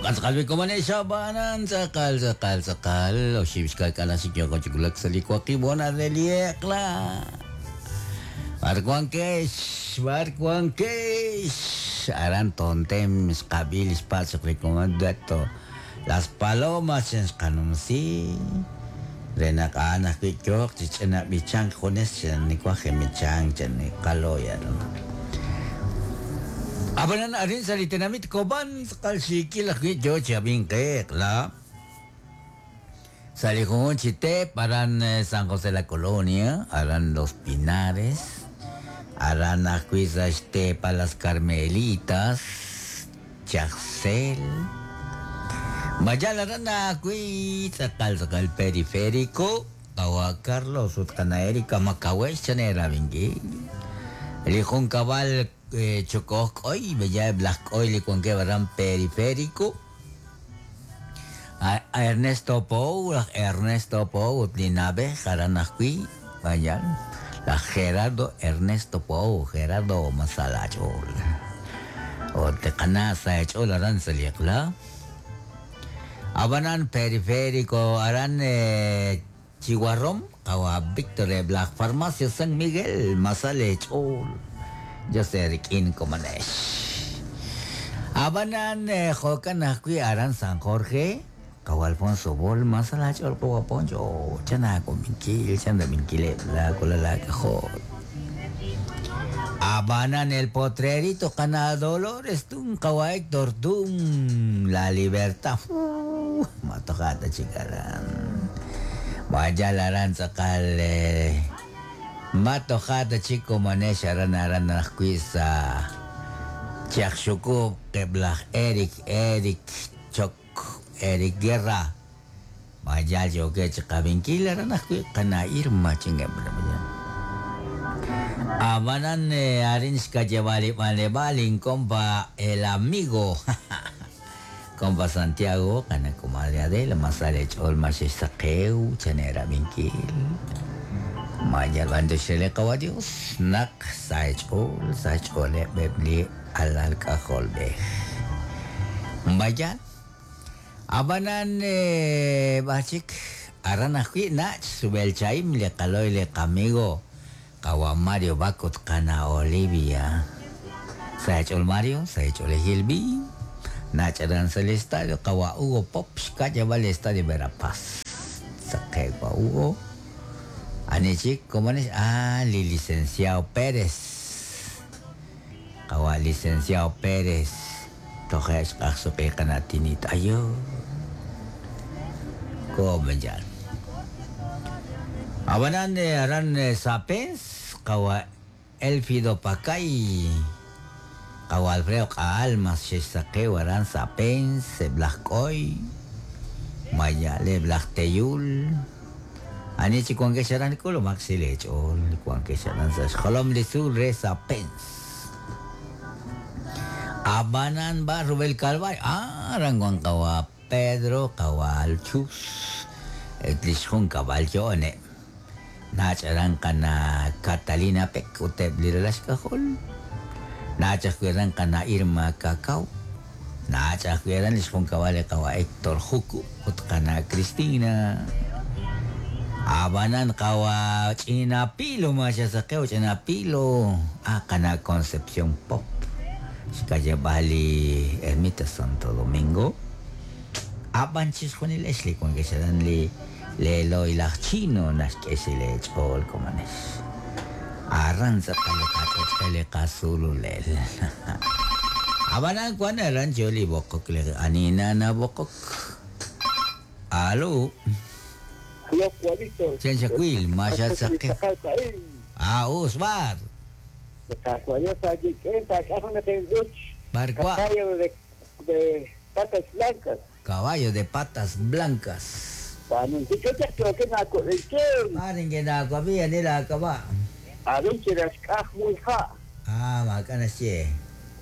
Jo'kan tz'aqal wi komonex ab'anan tz'aqal tz'aqal tz'aqal oxib' xka'k'aal naxik yooko chi wulak sa' li waqib' hoonal re li eq'la. B'ar wankex? B'ar wankex? Aran Tontem xqab'i li xpatz' chaq li komon Dueto Las Palomas chan xqanumsi re naq a'an ajwi' yooq chi ch'ina b'ichank junes chan niwaj jemichank chan qalo'y aran. Ab'anan arin sa' li tenamit Cobán tz'aqal xiikil ajwi' yoo chi ab'ink qe eq'la sa' li junjunq chi teep aran San José La Colonia, aran Los Pinares, aran ajwi' sa' xteepal Las Carmelitas, Chajsel. Mayal aran ajwi' tz'aqal tz'aqal Periférico, qawa' Carlos ut qana' Erika Makawex chan eerab'inkil. Li junkab'al Chokoj K'oy, b'eya eb' laj K'oy li wankeb' aran Periférico. Ernesto Pou, laj Ernesto Pou ut li na'b'ej aran ajwi', vaya, laj Gerardo Ernesto Pou, Gerardo Masalach'ool. Ut li qana' sa' eech'ool aran sa' li eq'la. Ab'anan Periférico aran Chihuarrom, qawa' Víctor eb' laj Farmacia San Miguel, masal eech'ool, Dios eerik'in komonex. Ab'anan jo'kan ajwi' aran San Jorge, qawa' Alfonso Bol, masal aach'ool qawa' Poncho, chan aakominkil, chan rab'inkileb' laawalal aak'ajol. Ab'anan El Potrerito qana' Dolores Tun, qawa' Héctor Tun, La Libertad, ma toja' ta chik aran. Ma yal aran tz'aqal ma toja' ta chik komonex aran aran ajwi' sa' Chajxukub' eb' laj Eric Eric Chok Eric Guerra. Ma yaal yookeb' chi qab'inkil aran ajwi' qana' Irma chingeb' Ab'anan arin xkayeb'al li b'anleb'aal inkompa el amigo Kompa Santiago qana' comadre Adela ma sa' leech'ool ma xexsaqew chan eerab'inkil Ma yal b'anyox re li Qawa' Dios naq sa' eech'ool sa' xch'ooleb' eb' li alal k'ajolb'ej Ma yaal Ab'anan b'ar chik aran ajwi' nach' rub'el chahim li qaloy li qamigo qawa' Mario Bac ut qana' Olivia. Sa' eech'ool Mario, sa' eech'oolejil b'i, nach' aran sa' li estadio qawa' Hugo Pop xka'yab'al li estadio Verapaz. Saqe'k wa' Hugo. Ani chik komonex? Ah, li licenciado Pérez. Qawa' licenciado Pérez. Toje' xq'ajsuq'i qana' Tinit ayo. Ko'o b'an yaal. Ab'anan aran Sapens qawa' Elfido Pakay, qawa' Alfredo Q'aalmas xexsaqew aran Sapens, eb' laj K'oy, maya'leb' laj Teyul. Ani chik wankex aran k'ulumaq xil eech'ool wankex aran sa' xjolom li tzuul re Sapens. Ab'anan b'ar rub'el Calvario, aran wan qawa' Pedro, qawa' Alchus, et li xjunkab'al yo'oneb'. Nach' aran qana' Catalina Pek ut eb' li ralal xk'ajol. Nach' ajwi' aran qana' Irma Cacao. Nach' ajwi' aran li xjunkab'al li qawa' Héctor Juku ut qana' Cristina. Ab'anan qawa' Ch'ina Pilo ma xasaqew Ch'ina Pilo, ah qana' Concepción Pop xka'yab'al li Ermita Santo Domingo. Ab'an chixjunilex li wankex aran li leeloy laj Chino naxk'e xil eech'ool komonex. Aran tz'aqal li qach'och'el li qasululel. Ab'anan wan aran yo li b'oqok li ani nanab'oqok. Alo. Aló, Juanito. Chan xakwil, ma xatsaqe. Ah, us bar. Barqua. Caballo de patas blancas. Caballo de patas blancas. Ah, macana che.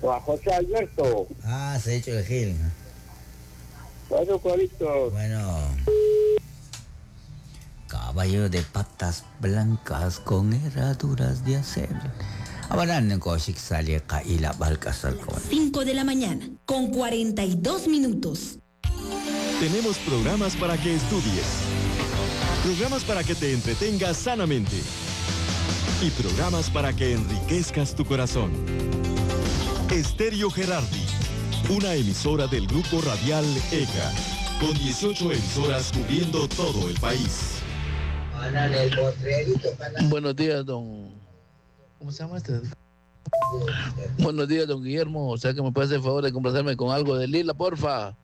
Juan José Alberto. Ah, se ha hecho el Gil. Bueno, Juanito. Bueno. Caballo de patas blancas con herraduras de acero. Ab'anan nokooxik sa' li qahilab'aal k'asal komon. 5 de la mañana, con 42 minutos. Tenemos programas para que estudies. Programas para que te entretengas sanamente. Y programas para que enriquezcas tu corazón. Estéreo Gerardi, una emisora del grupo radial ECA, con 18 emisoras cubriendo todo el país. Buenos días, don. ¿Cómo se llama este? Buenos días, don Guillermo. O sea que me puede hacer el favor de complacerme con algo de Lila, porfa.